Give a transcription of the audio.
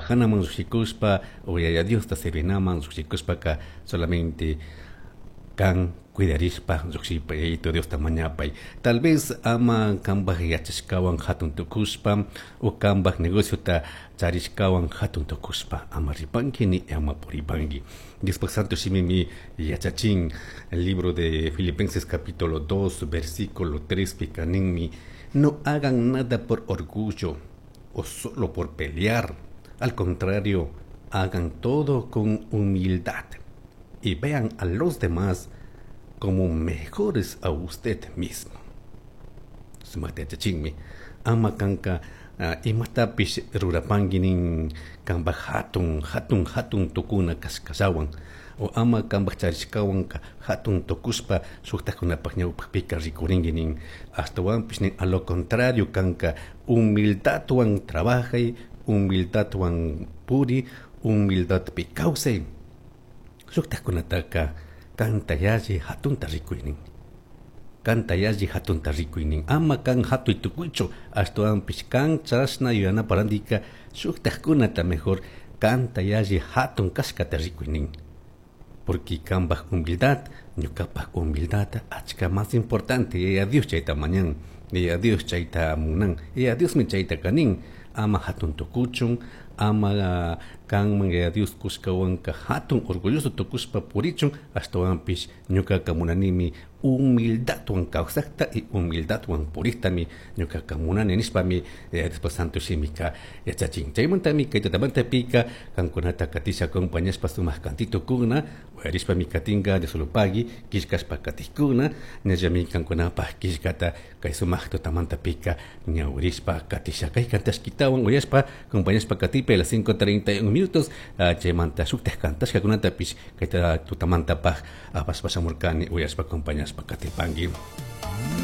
Trabajanaman llushikushpa o Yaya Diosta servinaman llushikushpaka solamente kan cuidarishpa llukshipa, Yayito Diosta mañapay. Tal vez ama kambaj yachashkawan hatun tukushpa o kambaj negociota charishkawan hatun tukushpa ama ripanki ni ama puripanki. Diospaj Santo Shimimi yachachin, el libro de Filipenses capítulo 2 versículo 3 pika ninmi: "No hagan nada por orgullo o solo por pelear. Al contrario, hagan todo con humildad y vean a los demás como mejores a usted mismo." Sumajta yachachinmi, ama kanka imatapish rurapanki nin kambaj hatun hatun hatun tukuna kashkallawan o ama kambaj charishkawanka hatun tukushpa shuktajkunapaj ñawpajpika rikurinki nin. Ashtawanpish nin, a lo contrario, kanka humildadwan trabajay, humildadwan puri, humildadpi kawsay, shuktajkunataka kanta yalli hatunta rikuy nin, kanta yalli hatunta rikuy nin. Ama kan hatuy tukuychu, ashtawanpish kan chashna yuyanapa randika shuktajkunata mejor kanta yalli hatun kashkata rikuy nin, porque kambaj humildad, ñukapaj humildad achka más importante. Yaya Dios chayta mañan, Yaya Dios chayta munan, Yaya Diosmi chayta kanin. Ama hatun tukuchun, ama kanman Yaya Dios kushkawanka hatun orgulloso tukushpa purichun. Ashtawanpish ñukaka munanimi humildadwan kawsakta y humildadwan puriktami ñukaka munani nishpami Diospa Santo Shimika yachachin. Chaymantami kay tutamantapika kankunata katisha acompañashpa sumak cantitokuna uyarishpami katinka. Diosolopagui killkashpa katikkuna, ñallami kankunapaj killkata kay sumak tutamantapika ñawirishpa katisha. Kay kantashkitawan uyashpa acompañashpa katipa a las 5:31 minutos. Chaymanta shuktaj kantashkakunatapish kay tutamantapaj apashpa shamurkani, uyashpa acompañashpa katipanki.